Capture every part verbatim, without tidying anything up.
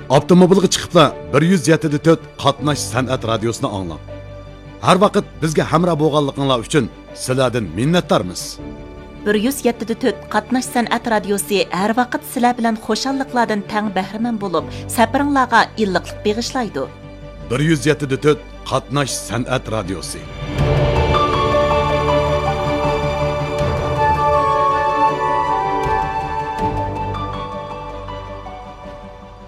ئاپتوموبىلغا چىقىپلا بىر يۈز يەتتە دە تۆت قاتناش سەنئەت رادىيوسىنى ئاڭلاڭ. ھەر ۋاقىت بىزگە ھەمراھ بولغانلىقىڭلار ئۈچۈن سىلەردىن مىننەتدارمىز. بىر يۈز يەتتە دە تۆت قاتناش سەنئەت رادىيوسى ھەر ۋاقىت سىلەر بىلەن خۇشاللىقلاردىن تەڭ بەھرىمەن بولۇپ، سەپىرىڭلارغا ئىللىقلىق بېغىشلايدۇ. بىر يۈز يەتتە دە تۆت قاتناش سەنئەت رادىيوسى.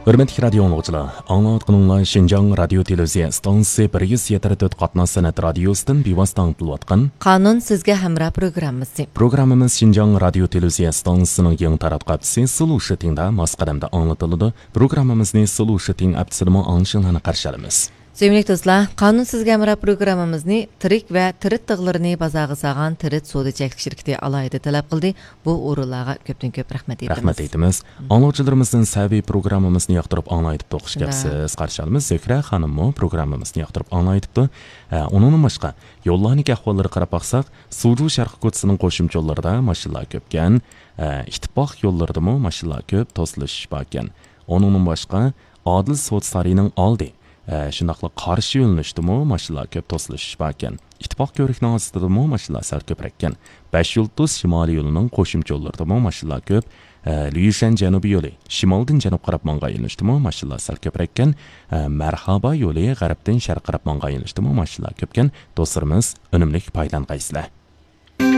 ھۆرمەتلىك رادىيو ئاڭلىغۇچىلار، ئاڭلاۋاتقىنىڭلار شىنجاڭ رادىيو تېلېۋىزىيە ئىستانسىسى بىر يۈز يەتتە تۆت قاتناش سەنئەت رادىيوسىدىن بىۋاسىتە ئاڭلىتىلىۋاتقان قانۇن سىزگە ھەمراھ پروگراممىسى. پروگراممىمىز شىنجاڭ رادىيو تېلېۋىزىيە ئىستانسىسىنىڭ يېڭى تاراتقۇ ھەپتىسى سلوشىتىڭدا ماس قەدەمدە ئاڭلىتىلىدۇ. پروگراممىمىزنى سلوشىتىڭ ھەپتىسىدىمۇ ئاڭلىشىڭلارنى قارشى ئالىمىز. سۆيۈملۈك دوستلار، قانۇن سىزگە ھەمراھ پروگراممىمىزنى تىرىك ۋە تىرىت تىغلىرىنى بازارغا سالغان تىرىت سودا چەكلىك شىركىتى ئالاھىدە تەلەپ قىلدى. بۇ ئورۇنلارغا كۆپتىن كۆپ رەھمەت ئېيتىمىز. رەھمەت ئېيتىمىز. ئاڭلىغۇچىلىرىمىزدىن سەۋىي پروگراممىمىزنى ياقتۇرۇپ ئاڭلايتىپتۇ. خۇش كەپسىز، قارشى ئالىمىز. زۆھرە خانىممۇ پروگراممىمىزنى ياقتۇرۇپ ئاڭلايتىپتۇ. ئە، ئۇنىڭدىن باشقا، يوللارنىڭكى ئەھۋاللىرىغا قاراپ باقساق، سۇجۇ شەرقىي كوچىسىنىڭ قوشۇمچە يوللىرىدا ماشىنىلار كۆپكەن. ئە، ئىتتىپاق يوللىرىدىمۇ ماشىنىلار كۆپ، توسۇلۇش باركەن. ئۇنىڭدىن باشقا، ئادىل سودا سارىيىنىڭ ئالدى، ئە، شۇنداقلا قارشى يۆنىلىشتىمۇ ماشىنىلار كۆپ، توسۇلۇش باركەن. ئىتتىپاق كۆۋرۈكىنىڭ ئاستىدىمۇ ماشىنىلار سەل كۆپرەككەن. بەش يۇلتۇز شىمالىي يولىنىڭ قوشۇمچە يوللىرىدىمۇ ماشىنىلار كۆپ. ئە، ليۇشەن جەنۇبىي يولى شىمالدىن جەنۇبقا قاراپ ماڭغان يۆنىلىشتىمۇ ماشىنىلار سەل كۆپرەككەن. ئە، مەرھابا يولى غەربتىن شەرققە قاراپ ماڭغان يۆنىلىشتىمۇ ماشىنىلار كۆپكەن. دوستلىرىمىز، ئۈنۈملۈك پايدىلانغايسىلەر.